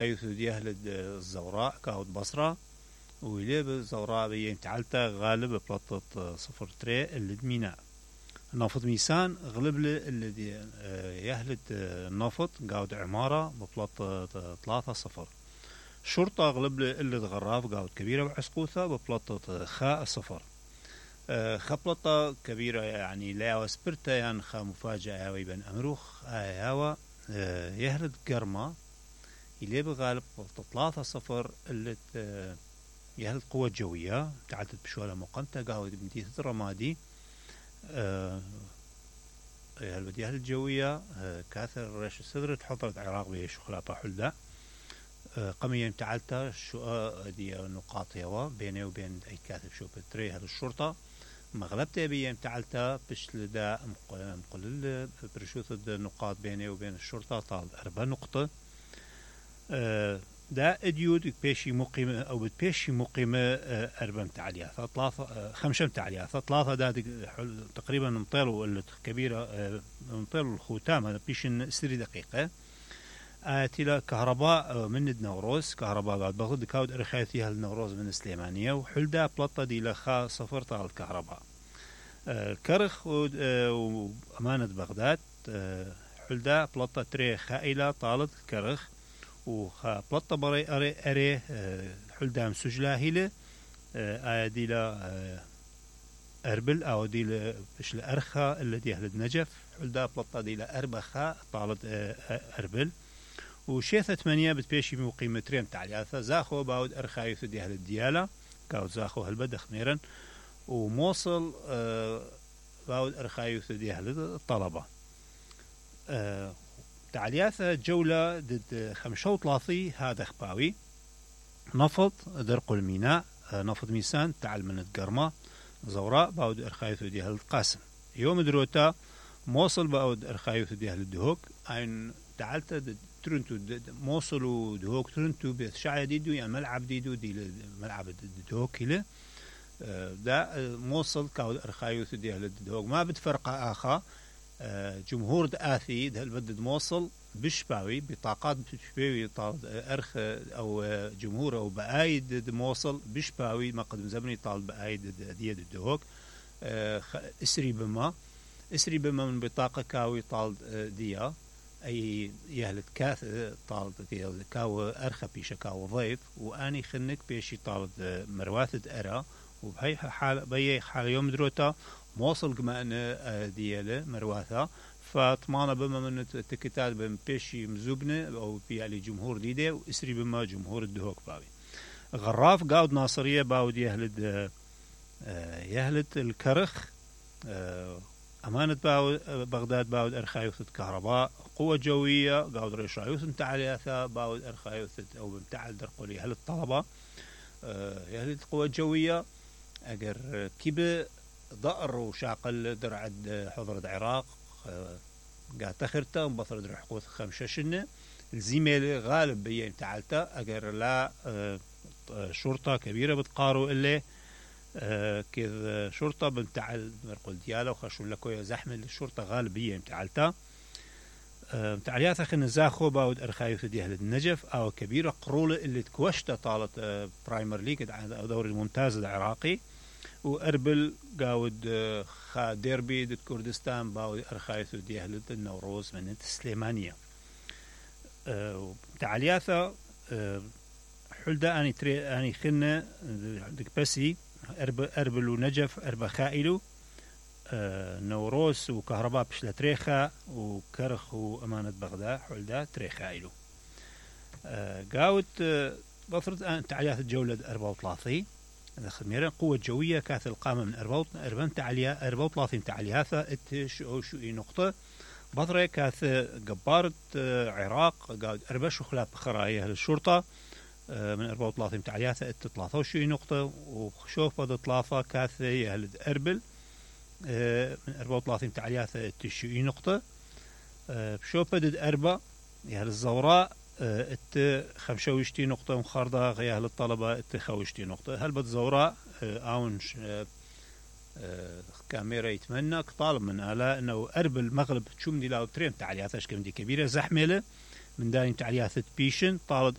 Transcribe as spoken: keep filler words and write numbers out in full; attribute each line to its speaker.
Speaker 1: حيث ديهل الزوراء كاود بصرة ويليب الزوراء بيم تعلتا غالب بلطة صفر تري اللي دميناء نافط ميسان غلب اللي دي يهلد النافط قاود عمارة ببلطة ثلاثة صفر شرطة غلب اللي غراف قاود كبيرة وعسقوثة ببلطة خاء صفر خبلطة كبيرة يعني لا وسبرتا يعني خا مفاجأة ويبن أمروخ هوا يهلد قرمة اللي بغالب ثلاثة صفر اللي يهلد قوة جوية تعدد بشوالة مقنطة قاود بنتيث الرمادي يهلد يهلد جوية كاثر رش صدرت حضرت عراق بيش خلافة حلدة قمية تعالتا شو دي نقاط يوا بيني وبين أي كاتب شو بتري هذا الشرطة مغلبتي بيم تعالتا بشل دا مقلل برشوث النقاط بيني وبين الشرطة طال أربع نقطة دا اديود بيشي مقيمة أو بتبيشي مقيمة أربع تعليات ثلاثة خمسة تعليات ثلاثة دا تقريبا مطيلو الكبيرة مطيلو الختام هذا بيش سري دقيقة تلا كهرباء من النوروز كهرباء قاعد بغض كاود أرخيتها النوروز من السليمانية وحلدا بلطة دي لخا صفر طال الكهرباء الكرخ وأمانة بغداد حلدا بلطة تري خائلة طالت الكرخ وخا بلطة بري أري أري حلدا مسجلة هيلة آدي لا أربل أو دي لا إيش الأرخا اللي دي أهل النجف حلدا بلطة دي لا أربخا طالت أربل وشيثة ثمانية بتبيشي مقيمة ترين تعلياثة زاخو باود أرخايث دي أهل الديالة كاود زاخو هالبدخ ميرا وموصل آه باود أرخايث دي أهل الطلبة آه تعلياثة جولة ضد خمسة وثلاثين هذا خباوي نفط درق الميناء آه نفط ميسان تعال من القرمة زوراء باود أرخايث دي أهل القاسم يوم دروتا موصل باود أرخايث دي أهل الدهوك عين تعالت ترنتو موصل ودهوك ترنتو بشعة ديدو يعني ملعب ديدو دي ملعب الدهوك كله دا موصل كاود أرخايث دي أهل الدهوك ما بتفرق آخا جمهور دآثي ده البدد موصل بشباوي بطاقات بشباوي طالب أرخ أو جمهور أو بآيد موصل بشباوي ما قد زمني طالب بآيد دي الدهوك اسري بما اسري بما من بطاقة كاوي طالب ديا أي يهلت كاث طالب كاو أرخى بيش كاو ضيف وأني خنك بيشي طالب مرواثة أرى وبهي حال بي حال يوم دروتا موصل كمان دياله مرواثة فطمانة بما من التكتات بم بيشي مزوبنة أو بيالي جمهور ديده وإسري بما جمهور الدهوك باوي غراف قاود ناصرية باود يهلد يهلد الكرخ أمانة باود بغداد باود أرخايوثة كهرباء قوة جوية قاود ريشايوث تعالياثا باود أرخايوثة أو بمتعال درقولي هل الطلبة يهلد قوة جوية أجر كيب ضأر وشاقل درع حضرة العراق قاعد تخرته وبطر درع حقوق خمسة شنة الزميل غالب بيين تعالتا أجر لا شرطة كبيرة بتقارو اللي كذا شرطة بنتعال مرقل دياله وخشوا لكويا زحمة الشرطة غالبية متعالتا تعاليات أخي نزاخو باود أرخايف دي أهل النجف أو كبيرة قرولة اللي تكوشت طالت برايمر ليج دوري الممتاز العراقي وأربل قاود خا ديربي دي كردستان باود أرخايف دي أهل النوروز من السليمانية تعالياثا حلدا أني تري أني خنة دك بسي أربل, أربل ونجف أربع خائلو آه نوروس وكهرباء بشلا تريخا وكرخ وأمانة بغداد حلدا تريخا إلو آه قاوت آه بطرت تعليات الجولة أربعة وثلاثين خميرا قوة جوية كانت القامة من أربعة تعليات أربعة وثلاثين تعلياتها اتش أو شو إي نقطة بطرة كانت جبارة آه عراق قاود أربع شخلات بخرايا للشرطة آه من أربعة وثلاثين تعلياتها ات ثلاثة وشو إي نقطة وشوف بدأ ثلاثة كانت يهلد أربل من أربعة وثلاثين تعليات تشوي نقطة بشو بدد أربعة يهل الزوراء ات خمسة وشتي نقطة مخارضة غياه للطلبة ات خوشتي نقطة هل بد زوراء أونش كاميرا يتمنى طالب من آلاء أنه أربل مغلب شو من لاو ترين تعليات أشكال دي كبيرة زحملة من داني تعليات بيشن طالد